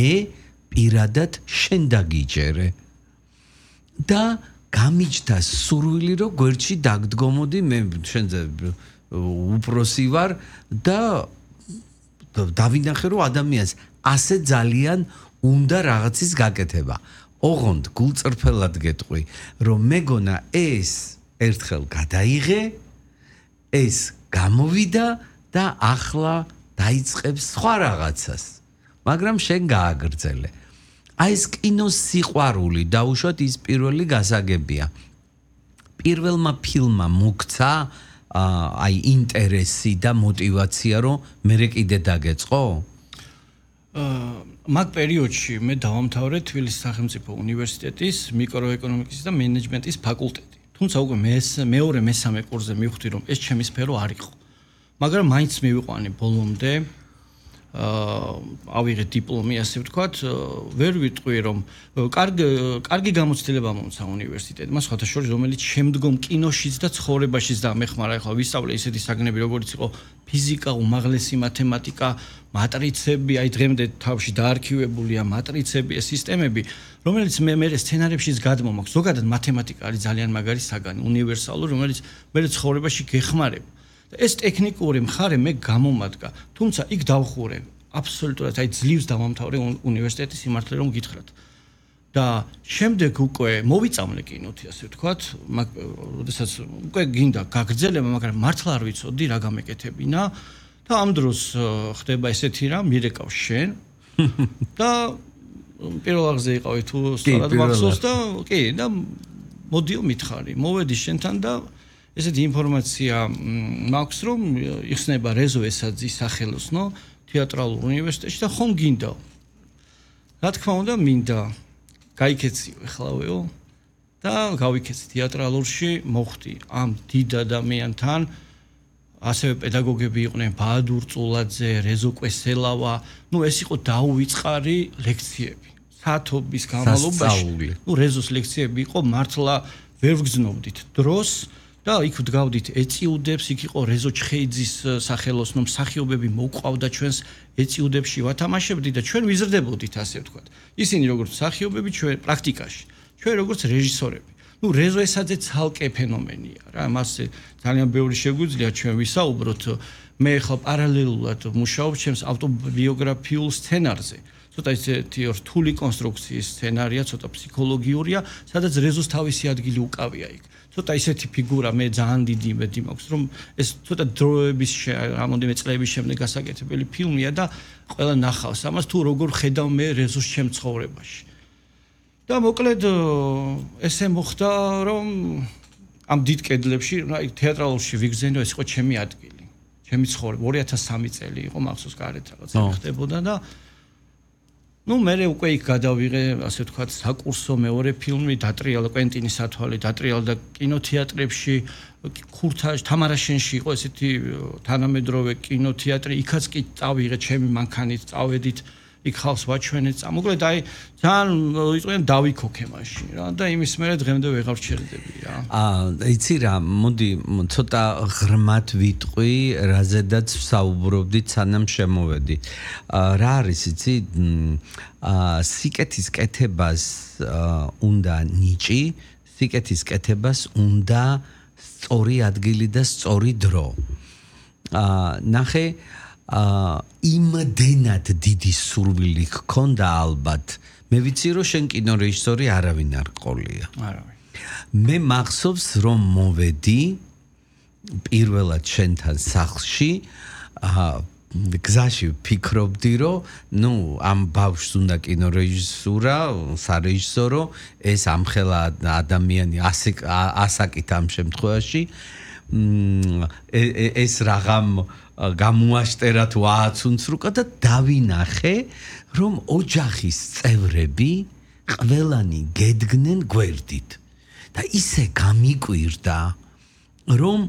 მე პირადად შენ დაგიჯერე და გამიჯდა სურვილი რომ გვერდში დაგდგომოდი მე შენზე უპროსი ვარ და დავინახე რომ ადამიანს ასე ძალიან უნდა რაღაცის გაკეთება ოღონდ გულწრფელად გეტყვი რომ მეგონა ეს ერთხელ გადაიღე ეს გამოვიდა და ახლა დაიწყებს სხვა რაღაცას მაგრამ შენ გააგრძელე აი ეს კინოს სიყვარული დაუშვათ ის პირველი გასაგებია პირველმა ფილმმა მოგცა აი ინტერესი და мотиваცია რომ მე კიდე დაგეწყო მაგ პერიოდში მე დავამთავრე თბილისის სახელმწიფო უნივერსიტეტის მიკროეკონომიკის და მენეჯმენტის ფაკულტეტი თუმცა უკვე მეორე მესამე კურსზე მივხვდი რომ ეს ჩემი სფერო არ იყო მაგრამ მაინც მივიყვანე ბოლომდე ავიღე დიპლომი ასე ვთქვათ ვერ ვიტყვი რომ კარგი გამოცდილება მომცა უნივერსიტეტმა სხვათა შორის რომელიც შემდგომ კინოშიც და ცხოვრებაშიც დამეხმარა ახლა ვისწავლე ისეთი საგნები როგორც იყო ფიზიკა უმაღლესი მათემატიკა მატრიცები აი დღემდე თავში დაარქივებულია მატრიცები ეს სისტემები რომელიც მე სცენარებშიც გადმომაქვს ზოგადად მათემატიკა არის ძალიან მაგარი საგანი უნივერსალური რომელიც მე ცხოვრებაში გეხმარება ეს ტექნიკური მხარე მე გამომადგა თუმცა იქ დავხურე აბსოლუტურად აი ძლივს დავამთავრე უნივერსიტეტის სიმართლე რომ გითხრათ და შემდეგ უკვე მოვიწამლე კინოთი ასე ვთქვათ როდესაც უკვე გინდა გაგრძელება მაგრამ მართლა არ ვიცოდი რა გამეკეთებინა და ამ დროს ხდება ესეთი რამ მირეკავს შენ და პირველ აღზე იყავი თუ სწორად მახსოვს და კი და მოდიო მითხარი მოვედი შენთან და ესეთი ინფორმაცია მაქვს რომ იხსნება რეზო ესაძის სახელოსნო თეატრალურ უნივერსიტეტში და ხომ გინდა რა თქმა უნდა მინდა გაიქეციო ეხლავეო და გავიქეცი თეატრალურში მოხვდი ამ დიდ ადამიანთან ასევე პედაგოგები იყვნენ ბაადურ წულაძე რეზო კვესელავა ნუ ეს იყო დაუვიწყარი ლექციები საათობის განმავლობაში ნუ რეზოს ლექციები იყო მართლა ვერ ვგრძნობდით დროს და იქ ვდგავდით ეწიუდებს იქ იყო რეზო ჩხეიძის სახელოსნო მსახიობები მოყვავდა ჩვენს ეწიუდებში ვათამაშებდი და ჩვენ ვიზრდებოდით ასე ვთქვათ ისინი როგორც მსახიობები ჩვენ პრაქტიკაში ჩვენ როგორც რეჟისორები ნუ რეზო ესაძე ცალკე ფენომენია რა მას ძალიან ბევრი შეგვიძლია ჩვენ ვისაუბროთ მე ხა პარალელურად მუშაობ ჩემს ავტობიოგრაფიულ სცენარზე ცოტა ისეთი რთული კონსტრუქციის სცენარია ცოტა ფსიქოლოგიურია სადაც რეზოს თავისი ადგილი უკავია იქ ცოტა ისეთი ფიგურა მე ძალიან დიდი იმედი მაქვს რომ ეს ცოტა დროების რამოდენიმე წლების შემდეგ გასაკეთებელი ფილმია და ყველა ნახავს ამას თუ როგორ ხედავ მე რეზოს ჩემ ცხოვრებაში და მოკლედ ესე მოხდა რომ ამ დიდ კედლებში აი თეატრალურში ვიგზენო ეს იყო ჩემი ადგილი ჩემი ცხოვრება 2003 წელი იყო მახსოვს გარეთ რაღაცა ხდებოდა და ნუ მე უკვე იქ გადავიღე ასე ვთქვათ საკურსო მეორე ფილმი დატრიალა კვენტინის სათვალე დატრიალა და კინოთეატრებში ქურთაში თამარაშენში იყო ესეთი თანამედროვე კინოთეატრი იქაც კი წავიღე ჩემი მანქანით წავედით იქ ხალხს ვაჩვენეთ მოკლედ აი ძალიან იყვნენ დავიქოქე მაშინ რა და იმის მერე დღემდე ვეღარ ვჩერდები რა იცი რა მოდი ცოტა ღრმად ვიტყვი რაზედაც ვსაუბრობდით სანამ შემოვედი რა არის იცი სიკეთის კეთებას უნდა ნიჭი სიკეთის კეთებას უნდა სწორი ადგილი და სწორი დრო ნახე იმდენად დიდი სურვილი ჰქონდა ალბათ მე ვიცი რომ შენ კინორეჟისორი არავინ არ ყოლია არავინ მე მახსოვს რომ მოვედი პირველად შენთან სახლში გზაში ვფიქრობდი რომ ნუ ამ ბავშვს უნდა კინორეჟისურა სარეჟისორო ეს ამხელა ადამიანი ასაკით ამ შემთხვევაში ეს რაღაც გამოაშტერა თუ ააცუნცრუკა და დავინახე რომ ოჯახის წევრები ყველანი გედგნენ გვერდით და ისე გამიკვირდა რომ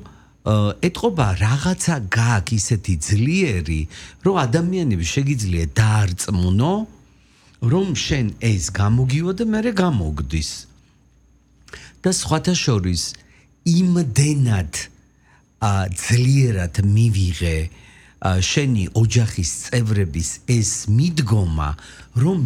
ეთყობა რაღაცა გააქვს ისეთი ძლიერი რომ ადამიანები შეგიძლია დაარწმუნო რომ შენ ეს გამოგივა და მე გამოგდის და სხვათა შორის იმდენად ძლიერად მივიღე შენი ოჯახის წევრების ეს მიდგომა რომ